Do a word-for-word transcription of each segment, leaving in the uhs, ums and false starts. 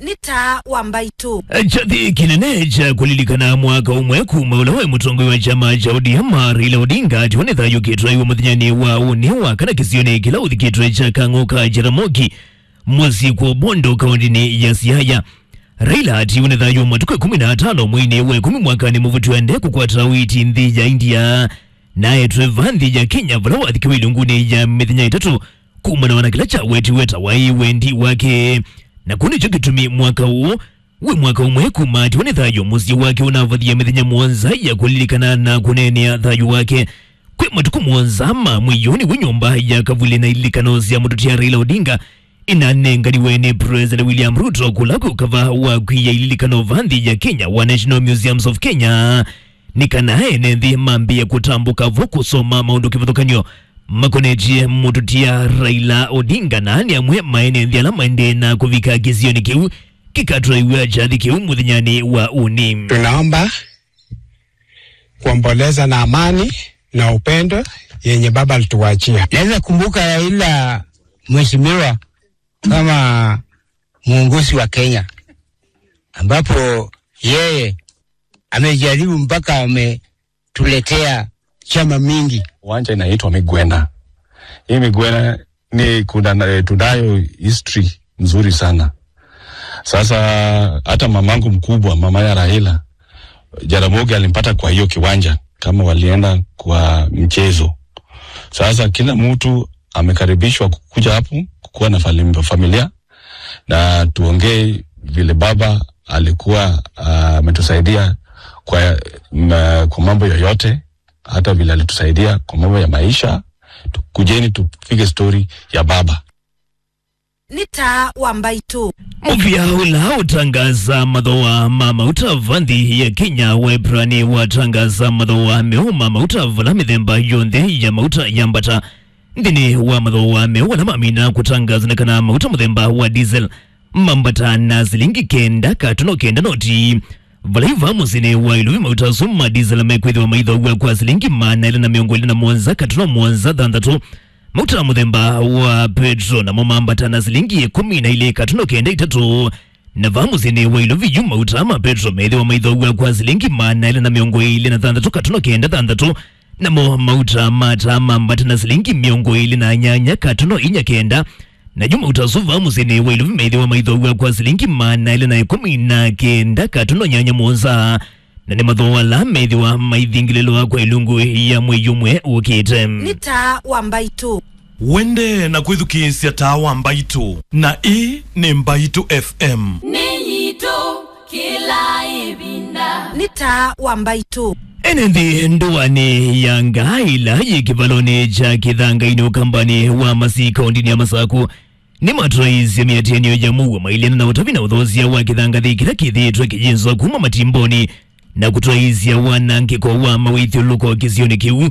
Nĩ Taa wa Mbaitũ. Kyathĩ kĩnene kya kũlilikana mwaka ũmwe kuma ũla waĩ mũtongoi wa kyama kya O D M, Raila Odinga, atiwa nĩ thayũ kĩtwaiwe mũthenyanĩ wa ũnĩ wa kana kĩsionĩ kĩla ũthikĩtwe kya Kang'o ka Jaramogi, mũsyĩ kwa Bondo, kaũntĩnĩ ya Siaya. Raila atiwa nĩ thayũ matukũ ĩkũmi na atano mweinĩ wa ĩkũmi mwakanĩ mũvĩtu aendee kũkwata ũiiti nthĩ ya India, na aetwe vaa nthĩ ya Kenya, vala wathikiwe ilungunĩ ya mĩthenya ĩtatũ, kumana na kĩla kyawetiwe ta waĩ wendi wake. Na kũu nĩkyo kĩtumi mwaka ũũ wĩ mwaka ũmwe kuma atiwa nĩ thayũ, mũsyĩ wake ũnavathie mĩthenya mũonza ya kũlilikana na kũneenea thayũ wake. Kwĩ matukũ mũonza ma mwei ũũ nĩw'o nyũmba ya kavuli na ililikano sya mũtũtia Raila Odinga ĩnanenganiwe nĩ President William Ruto kũla kwĩ ũkava wa kwia ililikano vaa nthĩ ya Kenya wa National Museums of Kenya, nĩ kana ene nthĩ mambĩĩe kũtambũka vo kũsoma maũndũ kĩvathũkany'o makonetye mũtũtia Raila Odinga na nĩ amwe ma ene nthĩ ala maendee na kũvika kĩsionĩ kĩu kĩkatwaiw'a kyathĩ kĩu mũthenyanĩ wa ũnĩ. Tunaomba kuomboleza na amani na upendo yenye baba alituachia. Naweza kumbuka Raila, mheshimiwa, kama mwongozi wa Kenya, ambapo yeye amejaribu mpaka ametuletea chama mingi. Uwanja inaitwa Migwena. Hii Migwena ni kuna, eh, tunayo history nzuri sana. Sasa hata mamangu mkubwa, mama ya Raila, Jaramogi alimpata kwa hiyo kiwanja kama walienda kwa mchezo. Sasa kila mtu amekaribishwa kukuja hapo kukuwa na fali-, familia na tuongee vile baba alikuwa, ah, ametusaidia kwa, ma-, kwa mambo yoyote, hata vile alitusaidia kwa mambo ya maisha. Tu-, kujeni tupige story ya baba. Nĩ Taa wa Mbaitũ. Mũvĩa ũla ũtangaasa mathooa ma mauta vaa nthĩ ya Kenya wa Ĩpranĩ watangaasa mathooa meũ ma mauta vala mĩthemba yonthe ya mauta yambata nthĩnĩ wa mathooa meũ ala mamina kũtangaasa nĩ kana mauta mũthemba wa diesel mambata na silingi kenda katono kenda noti. Vala yu vaa mũsyĩnĩ wa Ilovi mauta asu ma diesel mekwĩthĩwa maithoaw'a kwa silingi maana elĩ na mĩongo ĩlĩ na mũonza katono mũonza thanthatũ. Mauta mũthemba wa petro namo mambata na silingi ĩkũmi na ilĩ katono kenda itatũ. Na vaa mũsyĩnĩ wa Ilovi yu mauta ma petro methĩwa maithoaw'a kwa silingi maana elĩ na mĩongo ĩlĩ na thanthatũ katono kenda thanthatũ. Namo mauta ma taa mambata na silingi mĩongo ĩlĩ na nyanya katono inya kenda. Na yu mauta asu vaa mũsyĩnĩ wa Ilovi methĩwa maithoaw'a kwa silingi maana elĩ na ĩkũmi na kenda katono nyanya mũonza. Na nĩ mathooa ala methĩwa maithingĩlĩlwa kwa ilungu ya mwei ũmwe ũkĩte. Nĩ Taa wa Mbaitũ. Wende na kwĩthukĩĩsya Taa wa Mbaitũ, na ĩĩ nĩ Mbaitũ F M. Nĩ yitũ kĩla ĩvinda. Nĩ Taa wa Mbaitũ. Ene nthĩ ndũanĩ ya Ngaa ĩla yĩ kĩvalonĩ kya Kĩthangainĩ ũkambanĩ wa Masii kaũntĩnĩ ya Masakũ nĩmatwaĩĩsye mĩatĩanĩo ya mũuo mailĩana na ũtavi na ũthoosya wa kĩthangathĩ kĩla kĩthĩĩtwe kĩyĩnzwa kuma matimbonĩ na kũtwaĩĩsya wanangĩko wa mawĩthyũlũlũko kĩsionĩ kĩu.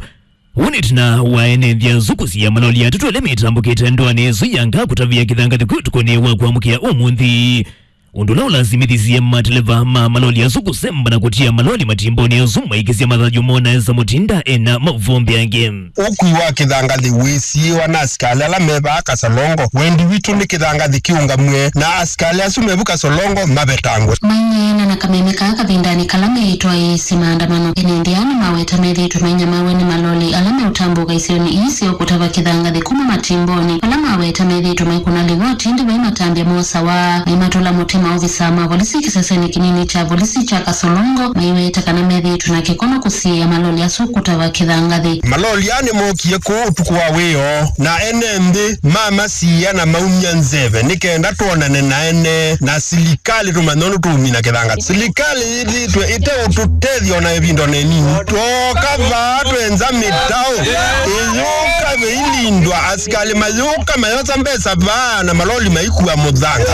Ũu nĩ ĩtina wa ene nthĩ asu kũsiĩa maloli atatũ ala metambũkĩte ndũanĩ ĩsu ya Ngaa kũtavĩa kĩthangathĩ kĩu ũtukũnĩ wa kwamũkĩa ũmũnthĩ. Ũndũ ũla ũlasimithisye mateleva ma maloli asu kũsemba na kũtia maloli matimbonĩ asu maikĩsya mathayũ moo na Esa Mũtinda ena maũvoo mbeange. Ũkui wa kĩthangathĩ wĩsiĩĩwa na asikalĩ ala me vaa Kasolongo. Wendi witũ nĩ kĩthangathĩ kĩũngamw'e na asikalĩ asu me vu Kasolongo mavetangwe. Maineena na kameme kaa kavindanĩ kala meĩtwaĩĩsye maandamano, ene nthĩ aa nĩmaweta methĩĩtwe mainyamaaw'a nĩ maloli ala meũtambũka isionĩ ii syo kũtava kĩthangathĩ kuma matimbonĩ. Vala maweta methĩĩtwe maikũna livoti, ĩndĩ vai matambya mosawa, nĩmatũla mũtĩ maovisaa ma volisi kĩsesenĩ kĩnini kya volisi kya Kasolongo, maiweta kana methĩĩtwe na kĩkono kũsiĩĩa maloli asu kũtava kĩthangathĩ. Maloli aa nĩmookie kũu ũtukũ wa wĩoo, na ene nthĩ mamasiĩa na maumya nzeve nĩ kenda twonane na ene na silikalĩ tũmanye ũndũ tũũmina kĩthangathĩ. Silikalĩ yĩthĩĩtwe ĩteũtũtethya o na ĩvinda o na ĩnini. Twooka vaa twenza mĩtaũ ĩyũka ĩilindwa, asikalĩ mayũka mayosa mbesa vaa na maloli maikua mũthanga.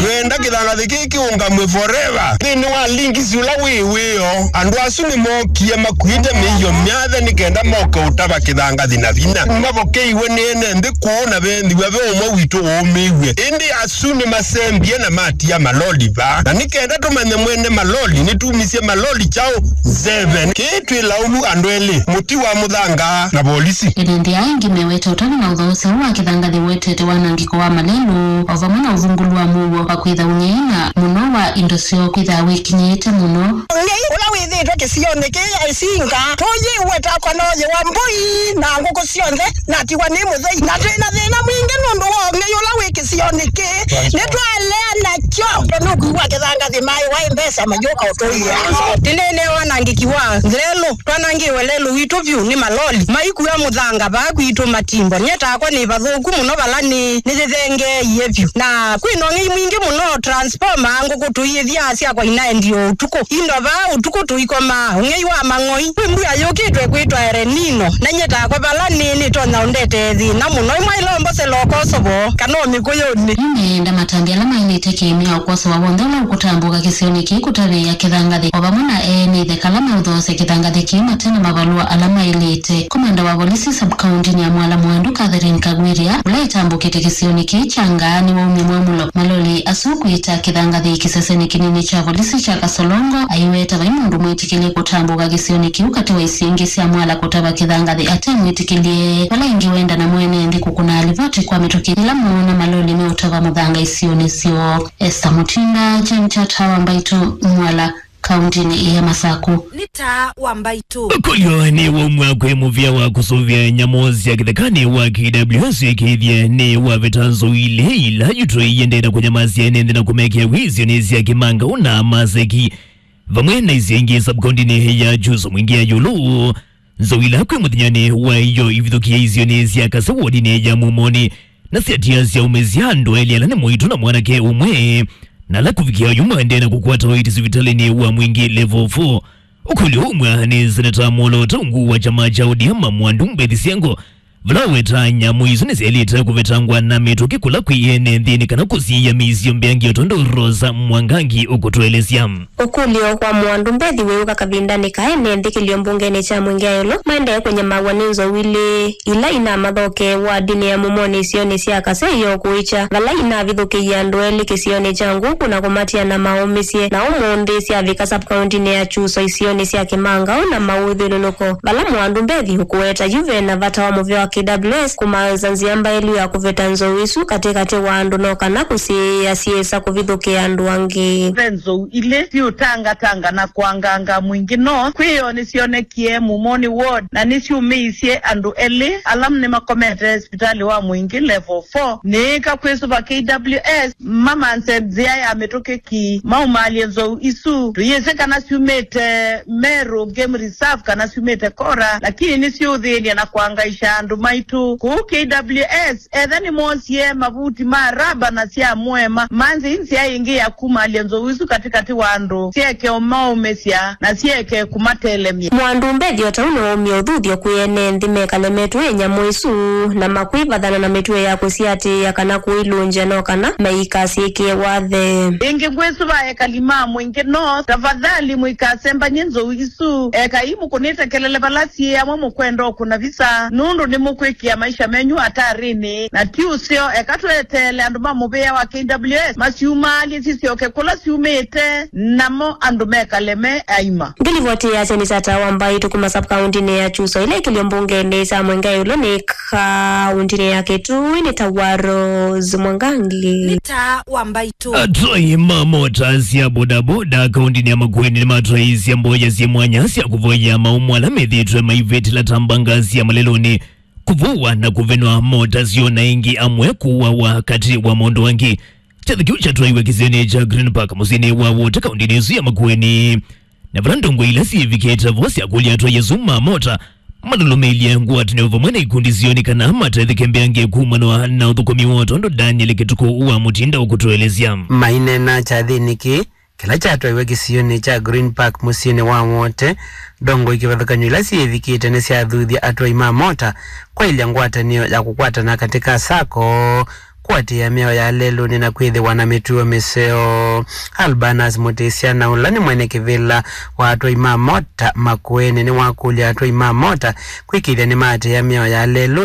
Twenda kĩthangathĩ kĩĩ kĩũngamw'e forever. Nthĩnĩ wa lingisi ũla wĩ wĩoo, andũ asu nĩmookie makuĩte mĩio myathe nĩ kenda moke ũtava kĩthangathĩ na vinya. Mavokeiwe nĩ ene nthĩ kũũ na vethĩwa ve ũmwe witũ ũũmĩw'e. Ĩndĩ asu nĩmasembie na matia maloli vaa. Na nĩ kenda tũmanye mwene maloli nĩtumisye maloli kyaũ nzeve. Kĩĩ twĩ laumu andũ elĩ, mũti wa mũthanga na volisi. Ene nthĩ aa aingĩ meweta ũtanu na ũthoosya ũũ wa kĩthangathĩ ũetete wanangĩko wa malelũ, o vamwe na ũvungũlu wa mũuo wa kwĩtha ũnyie. Na mũno wa indo syoo kwĩthaa wĩkinyĩĩte mũno. Ũng'ei ũla wĩthĩĩtwe kĩsionĩ kĩĩ ya Isinga tũyĩw'e takwa nooyĩwa mbũi na ngũkũ syonthe, natigwa nĩ mũthei. Na twĩ na thĩna mwingĩ nũndũ wa ũng'ei ũla wĩ kĩsionĩ kĩĩ. Nĩtwalea nakyo. Nũkwĩw'a kĩthangathĩ maĩ waĩ mbesa mayũka ũtũia. Nĩneenea wanangĩki wa lelũ. Twanangĩwe lelũ witũ vyũ nĩ maloli maikua mũthanga vaa kwitũ matimbo. Nyie takwa nĩ vathũku mũno vala nĩ nĩyĩthengeeie vyũ. Na kwĩ na ũng'ei mwingĩ mũno, transformer, ngũkũ tũiĩthyaa syakwa inaendi o ũtukũ. Indo vaa ũtukũ tũikomaa, ũng'ei wa mang'oi. Kwĩ mbua yũkĩtwe kwĩtwa El Nino, na nyie takwa vala nĩ nĩtonya ũndetee thĩna mũno. Imwe ilombo selokosovo kana o mĩkũyũnĩ. Yu meenda matambya ala maĩlĩte kĩĩmĩao kwoswa w'onthe ũla ũkũtambũka kĩsionĩ kĩĩ kũtavĩĩa kĩthangathĩ, o vamwe na ene ĩtheka ala meũthoosya kĩthangathĩ kĩĩ mate na mavalũa ala maĩlĩte. Komanda wa volisi sub-kaũntinĩ ya Mwala Mwandu, Catherine Kagwiria, ũla ĩtambũkĩte kĩsionĩ kĩĩ kya Ngaa, nĩwaumya mwamũlo maloli asu kwĩta kĩthangathĩ kĩsesenĩ kĩnini kya volisi kya Kasolongo, aiweta vai mũndũ mwĩtĩkĩlye kũtambũka kĩsionĩ kĩu katĩ wa isio ingĩ sya Mwala kũtava kĩthangathĩ ate mwĩtĩkĩlye. Vala ĩngĩ wenda na mwene nthĩ kũkũna livoti kwa mĩtũkĩ yĩla moona maloli meũtava mũthanga isionĩ syoo. Esther Mutinda, Jane Chata wa Mbaitũ, Mwala, kaũntinĩ ya Masaku. Nĩ taa wa Mbaitũ. Ũkũlyo nĩ waumw'a kwĩ mũvĩa wa kũsũvĩa nyamũ sya kĩthekanĩ wa K W S wĩkĩĩthye nĩ waveta nzou ilĩ ila yutũie ndenda kũnyamasya ene nthĩ na kũmekĩa wĩsyo nĩ sya Kĩmangau na Maseki, vamwe na isio ingĩ sub-kaũntinĩ ya Kyusũ Mwingĩ ya ĩũlũ. Nzou ila kwĩ mũthenyanĩ wa ĩyo ivithũkie isionĩ sya Kase wodinĩ ya Mumoni, na syatiasya aũmĩsya andũ elĩ ala nĩ mũitu na mwanake ũmwe, na ala kũvikĩa oyu maendee na kũkwata ũiiti sivitalĩnĩ wa Mwingĩ Level four. Ũkũlyo umw'a nĩ Seneta Mwolo Taungu wa kyama kya O D M Mwandu Mbethi Syengo, vala weta nyamũ isu nĩsyaĩlĩte kũvetangwa na mĩtũkĩ kũla kwĩ ene nthĩnĩ kana kũsiĩĩa mĩisyo mbeange o tondũ Rosa Mwangangi ũkũtũelesya. Ũkũlyo kwa Mwandu Mbethi wĩũka kavindanĩ ka ene nthĩ kĩlio mbungenĩ kya Mwingĩ ya ĩũlũ maendee kũnyamaw'a nĩ nzou ilĩ ila inamathoke wardinĩ ya Mumoni isionĩ sya Kasei o kũikya, vala inavithũkĩie andũ elĩ kĩsionĩ kya Nguku na kũmatia na maũmĩsye, na ũmũnthĩ syavika sub-kaũntinĩ ya Kyusũ isionĩ sya Kĩmangau na maũthyũlũlũko. Vala Mwandu Mbethi ũkũweta yu ve na vata wa mũvĩa wa K W S kũmaĩsa nzĩa mbaĩlu ya kũveta nzou isu katĩkatĩ wa andũ no kana kũsiĩĩa syĩsa kũvithũkĩa andũ angĩ. Ve nzou ilĩ siũtangatanga na kwanganga Mwingĩ North kwĩoo nĩsyonekie Mumoni Ward na nĩsyũmĩisye andũ elĩ ala nĩmakomete sivitalĩ wa Mwingĩ Level four. Nĩĩka kwĩsũva K W S mamanze nzĩa ya mĩtũkĩ ki maumaalye nzou isu. Tũyĩsĩ kana syumĩte Meru Game Reserve kana syumĩte Kora, lakini nĩsyũthĩĩlya na kwangaisha andũ maitũ kũu K W S. Etha nĩmoosie mavuti ma raba na sya mũema, manze nzĩa ĩngĩ ya kumaalya nzou isu katĩkatĩ wa andũ, syeke ũmaũmĩsya na syeke kũmatelemya. Mwandu Mbethi o ta ũu nĩwaumie ũthuthyo kwĩ ene nthĩ mekale metũĩ nyamũ isu na makwĩvathana na mĩtuo ya kũsiatĩĩa kana kũilũngya no kana meikasyĩkĩe wathe. Ĩngĩ ngwĩsũva ekali ma Mwingĩ North, tafadhali mũikasembany'e nzou isu. Ekai mũkũnĩte kelele vala syĩ amwe mũkwenda ũkũna visa, nũndũ nĩmũkwĩkĩa maisha menyu atarĩnĩ, na ti ũseo. Eka tweteele andũ ma mũvĩa wa K W S masyumaalye sisyoke kũla syumĩte, namo andũ mekale me aima. Ngĩlivoti ya Seneta Tata wa Mbaitũ kuma sub-kaũntinĩ ya Kyusũ ĩla ĩkĩlyo mbungenĩ sya Mwingĩ ya ĩũlũ nĩ kaũntinĩ ya Kitui nĩ ta wa Rose Mwangangi. Nĩ taa wa Mbaitũ. Atwai ma mota sya bodaboda kaũntinĩ ya Makueni nĩmatwaisye mboya syĩ mwanya sya kũvoya maũmũ ala methĩĩtwe maivĩtĩla ta mbanga sya malelũnĩ, kũvũwa na kũvenwa mota syoo, na ĩngĩ amwe kũawa katĩ wa maũndũ angĩ. Kyathĩ kĩu kyatwaiwe kĩsionĩ kya Green Park mũsyĩnĩ wa Wote kaũntinĩ ĩsu ya Makueni. Na vala ndongoi ila syĩvikĩte vo syakũlya atwai asu ma mota malũlũmĩĩlye ngwatanĩo vamwe na ikundi syoo nĩ kana matetheke mbeange kumanwa na ũthũkũmi woo, tondũ Daniel Kĩtukũ wa Mũtinda ũkũtũelesya. Maineena kyathĩnĩ kĩĩ kĩla kyatwaiwe kĩsionĩ kya Green Park mũsyĩnĩ wa Wote, ndongoi kĩvathũkany'o ila syĩvikĩte nĩsyathuthya atwai ma mota kwaĩlya ngwatanĩo ya kũkwatana katĩ ka sacco, kũatĩĩa mĩao ya lelũnĩ na kwĩthĩwa na mĩtuo mĩseo. Albanas Mũtĩsya, na ũla nĩ mwene kĩvĩla wa atwai ma mota Makueni, nĩwakũlya atwai ma mota kwĩkĩĩthya nĩmaatĩĩa mĩao ya lelũnĩ.